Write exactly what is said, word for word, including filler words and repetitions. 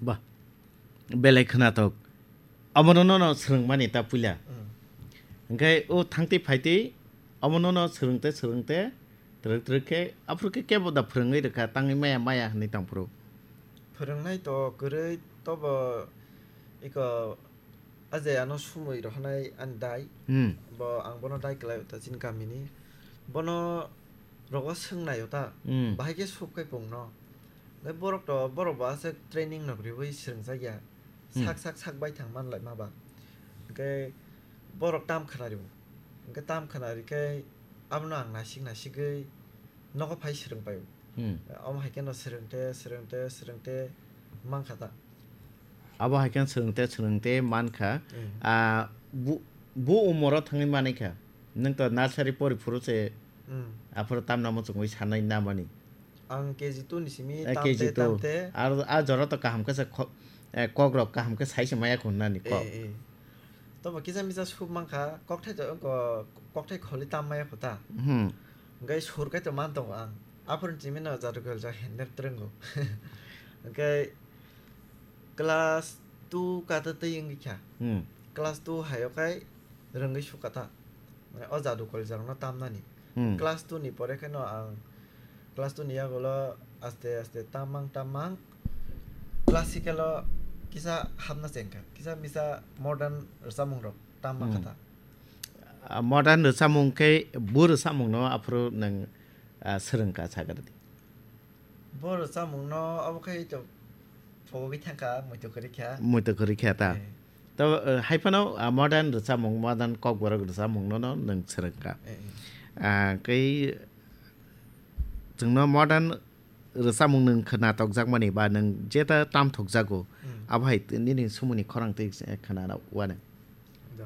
Ba, belai khwnatok. Omono nono swrwngmani ta puila. Hmm. Hwnkhe o thangtwi phaitwi omono no swrwngte swrwngte twrwk twrwk khe aphuru khe kebo da phwrwngwi rwkha tangwi maya maya hwnwi tongphuru. Phwrwngnai to kwrwi tobo iko a je ano sumui rohornai ani dai. Hmm. Bo ang bono dai kwlaio ta chini kamini. Bono rogo swngnaio ta. Hmm. Bahai khe sub khai pungno. Hwnkhe borok to, borok bo aswk training nok riwi swrwngjakya. Hmm. Sak sak sak bai thang manlai ma ba. Hwnkhe borok tam khwnari bo. Hwnkhe tam khwnari khe abono ang nasik nasigwi nogo phai swrwng paio. Hmm. Omo hai kheno swrwngte, swrwngte, swrwngte mankha ta. Abo hai khe swrwngte swrwngte mankha. Hmm. Ah, bu, bu umoro thangwi manwi kha. Nwng to nursery pori phuru se Hmm. aphuru tamna muchungwi sanai namani. Ang K G two ni simi Eh, tamte, K G two. Tamte. Ar a jora to kaham khe se kho-, eh, kok rok kaham khe sai se maya khun nani kok. Eh, eh. Tobo kisa misa sub mankha, kokthai to, ko-, kokthai kholi tam maya kho ta. Hmm. Hwnkhe sur kai to man tongo ang. Aphuru chimino jadu khe jai hender trwngo. Hwnkhe class two kata twi wngwi kha. Hmm. Class two hayo khai rwngwi sukha ta. Mane o jadu kol jagno tamnani. Hmm. Class two ni pore kheno ang class two ni yagulo aste aste tamang tamang classical o kisa hapna chengkha. Kisa misa modern rwchapmung rok tamma Hmm. kha ta. Ah, modern rwchapmung khe bu rwchapmung no aphuru nwng, ah, swrwngkha sagardi. Bo rwchapmungno obo khai to phogwi thangkha, muitu kwrwi kha. Muitu kwrwi kha ta. Eh. To, eh, hai phano, ah, modern rwchapmung, modern kokborok rwchapmungno no nwng swrwngkha. Eh, eh. Ah, kei chwngno modern rwchapmung nwng khwnathokjakmani ba nwng jeta tamthokjago, Hmm. abo hai t-, nini sumuni khorang twi, eh, khwna uanw. Do.